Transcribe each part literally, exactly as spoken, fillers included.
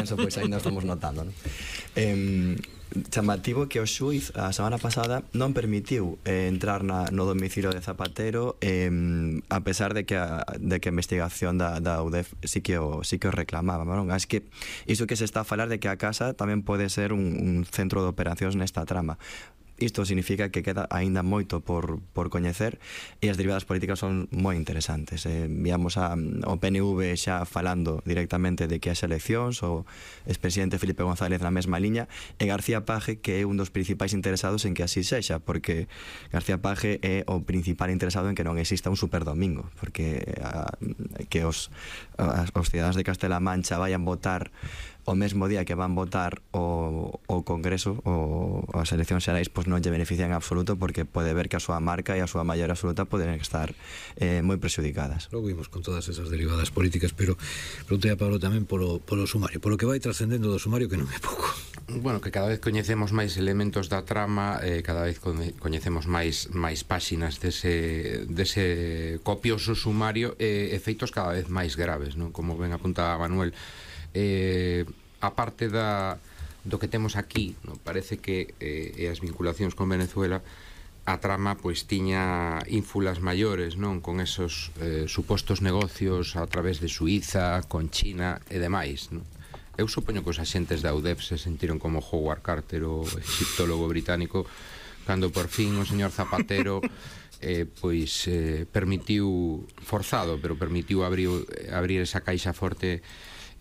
consenso pois ainda estamos notando, non? Eh, chamativo que o xuiz a semana pasada non permitiu eh, entrar na, no domicilio de Zapatero, eh, a pesar de que a, de que a investigación da, da U D E F sí que o, sí que o reclamaba, non? Es que iso que se está a falar de que a casa tamén pode ser un, un centro de operacións nesta trama. Isto significa que queda aínda moito por, por coñecer, e as derivadas políticas son moi interesantes. Eh, víamos a, o P N V xa falando directamente de que as eleccións, o expresidente Felipe González na mesma liña, e García Paje, que é un dos principais interesados en que así sexa, porque García Paje é o principal interesado en que non exista un superdomingo, porque a, que os, a, os cidadanos de Castela-A Mancha vayan votar o mesmo día que van votar o, o Congreso ou as eleccións xerais, pois non lle benefician en absoluto, porque pode ver que a súa marca e a súa maioría absoluta poden estar eh, moi prexudicadas. Logo vimos con todas esas derivadas políticas, pero preguntei a Pablo tamén polo, polo sumario, polo que vai trascendendo do sumario, que non é pouco. Bueno, que cada vez coñecemos máis elementos da trama, eh, cada vez coñecemos máis máis páxinas dese, dese copioso sumario, e eh, efeitos cada vez máis graves, non? Como ben apuntaba Manuel, eh, a parte da, do que temos aquí, non? Parece que eh, e as vinculacións con Venezuela, a trama pois tiña ínfulas maiores, non? Con esos eh, supostos negocios a través de Suíza, con China e demais, non? Eu supoño que os axentes da U D E F se sentiron como Howard Carter, o egiptólogo británico, cando por fin o señor Zapatero eh, pois eh, permitiu, forzado, pero permitiu abrir, abrir esa caixa forte.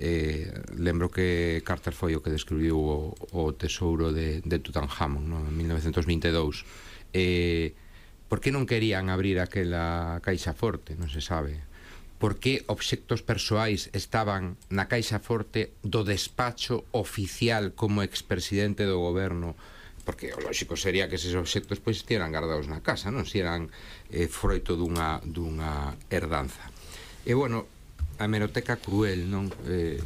Eh, lembro que Carter foi o que descubriu o, o tesouro de, de Tutankhamon, no? En mil novecentos vinte e dous. Eh, por que non querían abrir aquela caixa forte? Non se sabe. Por que obxectos persoais estaban na caixa forte do despacho oficial como expresidente do goberno? Porque o lógico sería que eses obxectos pois estiveran guardados na casa, non? Si eran eh, froito dunha, dunha herdanza. E bueno, a hemeroteca cruel, non? Eh,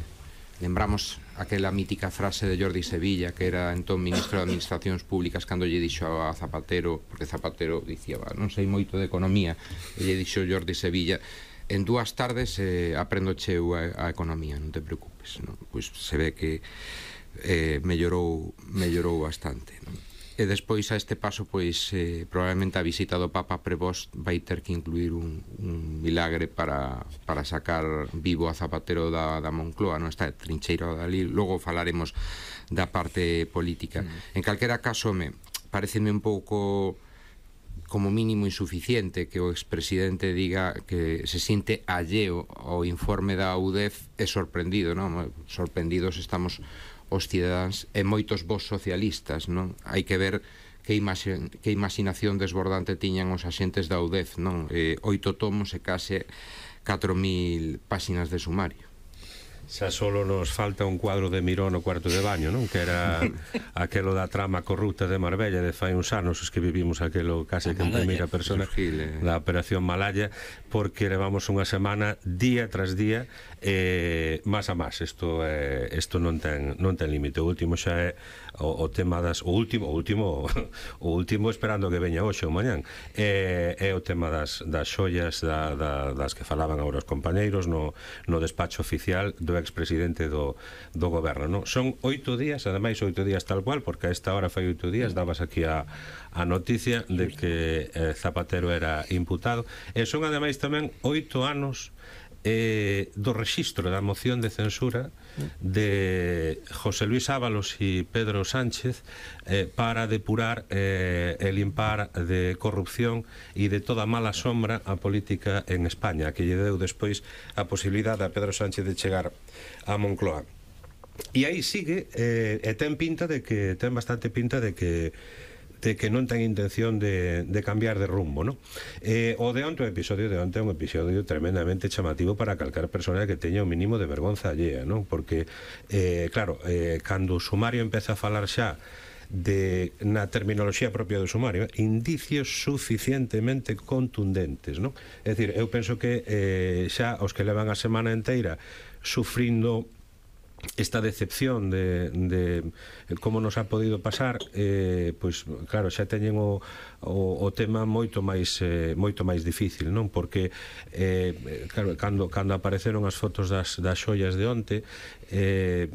lembramos aquela mítica frase de Jordi Sevilla, que era entón ministro de Administracións Públicas, cando lle dixo a Zapatero, porque Zapatero dicía, non sei moito de economía, e lle dixo Jordi Sevilla, en dúas tardes eh, aprendo cheu a, a economía, non te preocupes, non? Pois se ve que eh, mellorou, mellorou bastante, non? E despois a este paso, pois eh, probablemente a visita do Papa Prevost vai ter que incluir un, un milagre para, para sacar vivo a Zapatero da, da Moncloa, non? Está trincheiro dali, logo falaremos da parte política. Mm. En calquera caso, me pareceme un pouco como mínimo insuficiente que o expresidente diga que se siente alleo ao informe da U D E F, é sorprendido, non? Sorprendidos estamos os cidadáns e moitos vos socialistas, non? Hai que ver que, imagi que imaginación desbordante tiñan os axentes da U D E F, non? Eh, oito tomos e case catro mil páxinas de sumario. Xa solo nos falta un cuadro de Miró no cuarto de baño, non? Que era aquelo da trama corrupta de Marbella de fai uns anos, os que vivimos aquelo case que en primeira persona da Operación Malaya, porque levamos unha semana día tras día eh, más a más. Isto eh, isto non ten non ten límite. O último xa é o, o tema das o último, o último o último esperando que veña hoxe ou mañán. É, é o tema das das xoias da, da, das que falaban agora os compañeiros no no despacho oficial do expresidente do, do goberno, non? Son oito días, ademais oito días tal cual, porque a esta hora fai oito días dabas aquí a, a noticia de que eh, Zapatero era imputado, e son ademais tamén oito anos eh, do rexistro da moción de censura de José Luis Ábalos e Pedro Sánchez eh, para depurar eh, e limpar de corrupción e de toda mala sombra a política en España, que lle deu despois a posibilidade a Pedro Sánchez de chegar a Moncloa. E aí sigue, eh, e ten pinta de que ten bastante pinta de que de que non ten intención de, de cambiar de rumbo, non? Eh, o de onte, o episodio de onte é un episodio tremendamente chamativo para calcar persona que teña un mínimo de vergonza allea, non? Porque, eh, claro, eh, cando o sumario empeza a falar xa de, na terminoloxía propia do sumario, indicios suficientemente contundentes, non? É dicir, eu penso que eh, xa os que levan a semana inteira sufrindo esta decepción de, de como nos ha podido pasar, eh, pois claro, xa teñen o, o, o tema moito máis eh, moito máis difícil, non? Porque eh, claro, cando, cando apareceron as fotos das, das xoias de onte, eh,